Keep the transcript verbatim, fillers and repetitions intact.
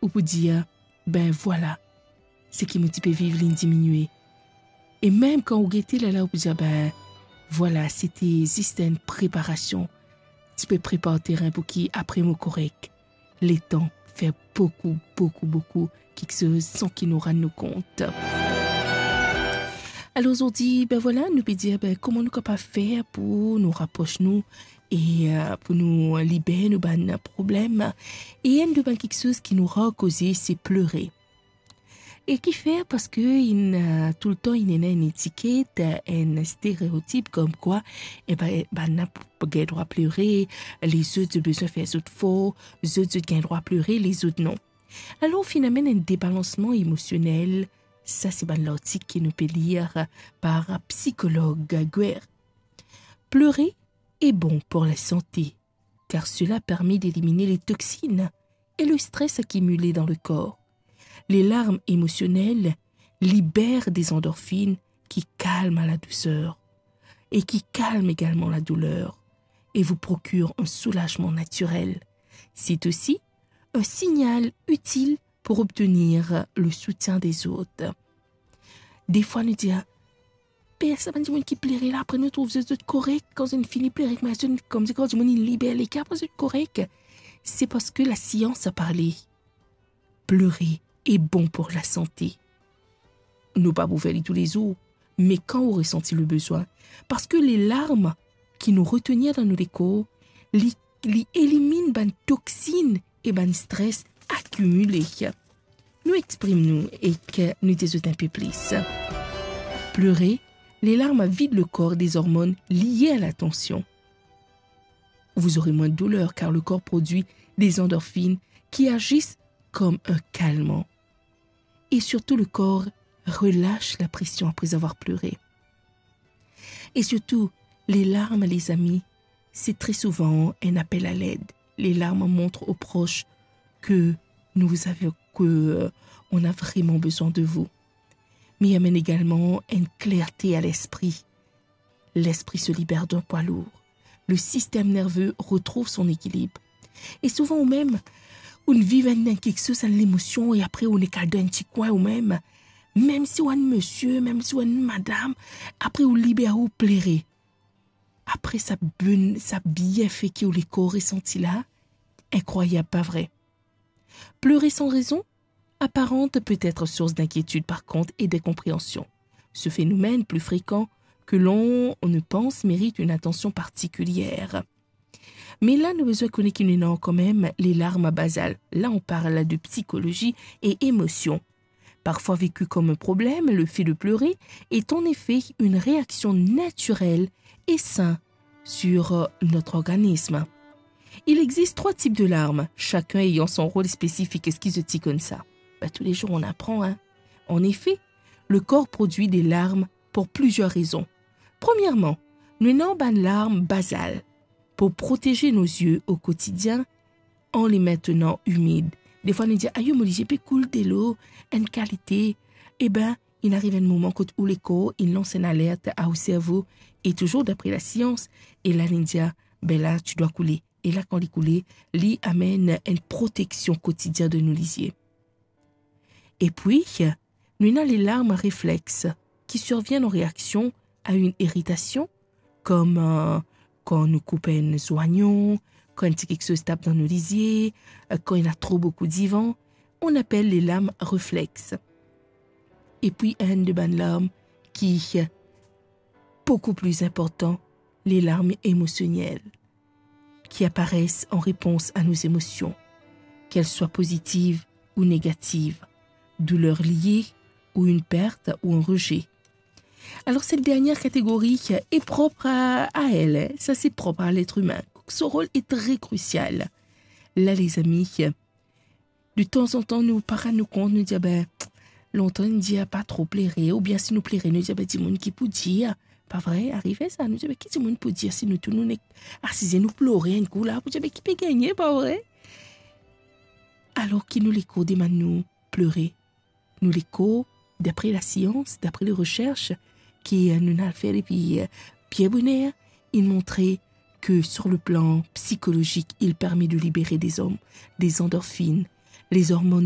ou pou dir, "Ben vwala, seki mo ti pe viv, linn diminie." E mem kan ou gete lerla, ou pou dir, "Ben vwala, sete zis enn preparasion. Ti pe prepar terin pou ki apre mo korek." Letan fer boukou, boukou, boukou kiksoz san ki nou rann nou kont. Alor zordi, ben vwala, nou pe dir, ben, kouma nou kapav fer pou nou rapros nou e, eh, pou nou liber nou bann problem. E enn de bann kiksoz ki nou rar koze, se plere. E kifer? Parski inn, eh, toultan inn ena enn etiket, eh, enn stereotip komkwa, e ben, bann la p-, gagn drwa plere, lezot zot bizin fer zot for, zot, zot gagn drwa plere, lezot non. Alor, finn amenn enn debalansman emosionel, sa se bann lartik ki nou pe lir par psikolog Guerre. Pleurer est bon pour la santé, car cela permet d'éliminer les toxines et le stress accumulé dans le corps. Les larmes émotionnelles libèrent des endorphines qui calment la douceur et qui calment également la douleur et vous procurent un soulagement naturel. C'est aussi un signal utile pour obtenir le soutien des autres. Defwa nou dir, "Be, sa bann dimoun ki plere la, apre nou trouv zot, zot korek, kan zot fini plere, kouma zot, koumsi kan dimoun inn liber leker, apre zot korek." Se parski lasians a parle. Pleurer est bon pour la santé. Nou pa pou fer li toulezour, me kan ou resanti le bezwin, parski le larm ki nou retenir dan nou lekor, li, li eliminn bann toxine e bann stres akimile. Nou exprim nou ek nou dir zot enn pe plis. Pleurer, les larmes vident le corps des hormones liées à l'attention. Vous aurez moins de douleur car le corps produit des endorphines qui agissent comme un calmant. Et surtout, le corps relâche la pression après avoir pleuré. Et surtout, les larmes, les amis, c'est très souvent un appel à l'aide. Les larmes montrent aux proches que nous vous avons, que, euh, on a vraiment besoin de vous. Mais il amène également une clarté à l'esprit. L'esprit se libère d'un poids lourd. Le système nerveux retrouve son équilibre. E souvan ou mem, ou viv enn, enn kiksoz, enn lemosion, e apre ou nek al dan enn ti kwin ou mem, mem si ou enn misie, mem si ou enn madam, apre ou liber, ou plere. Apre sa bonn, sa bienfe ki ou lekor resanti la, inkrwayab, pa vre? Pleurer sans raison apparente peut être source d'inquiétude, par contre, et d'incompréhension. Ce phénomène, plus fréquent que l'on ne pense, mérite une attention particulière. Mais là, nous besoin connaître qu'il y en a quand même les larmes basales. Là, on parle de psychologie et émotion. Parfois vécu comme un problème, le fait de pleurer est en effet une réaction naturelle et saine sur, euh, notre organisme. Il existe trois types de larmes, chacun ayant son rôle spécifique. Eski zot ti konn sa? Ben, tous les jours, on apprend, hein. En effet, le corps produit des larmes pour plusieurs raisons. Premièrement, nou ena bann larm bazal pour protéger nos yeux au quotidien en les maintenant humides. Defwa nou dir, "Ayo, mo lizie pe koul delo, enn kalite." E ben, inn ariv enn moman kot ou lekor inn lans enn alert a ou servo, e touzour dapre lasians, e la inn dir, "Ben la, tu dois couler." E la, kan li koule, li amenn enn proteksion kotidien de nou lizie. Epi, nou ena les larmes réflexes qui surviennent en réaction à une irritation, comme, euh, kan nou koup enn zoignon, kan enn ti kiksoz tap dan nou lizie, euh, kan ena tro boukou divan, on appelle les larmes réflexes. Epi enn de bann larm ki, euh, beaucoup plus important, les larmes émotionnelles, qui apparaissent en réponse à nos émotions, qu'elles soient positives ou négatives, douleur liée ou une perte ou un rejet. Alors, cette dernière catégorie est propre à, à elle, hein. Ça, c'est propre à l'être humain. Son rôle est très crucial. Là, les amis, de tanzantan, nou pa rann nou kont, nou dir, "Ben, lontan nou dir pa tro plere," oubien si nou plere, nou dir, "Ben, dimoun ki pou dir?" Pa vre? Arive sa, nou dir, "Ben, ki dimoun pou dir si nou tou nou nek asize, nou plore enn kou la, pou dir, 'Ben, ki pe gagne?'" Pa vre? Alor ki nou lekor demann nou plere. Nou lekor, dapre lasians, dapre le reserch ki, euh, nou'nn al fer depi, euh, bien boner, inn montre que sur le plan psychologique, il permet de libérer des hom-, des endorphines, les hormones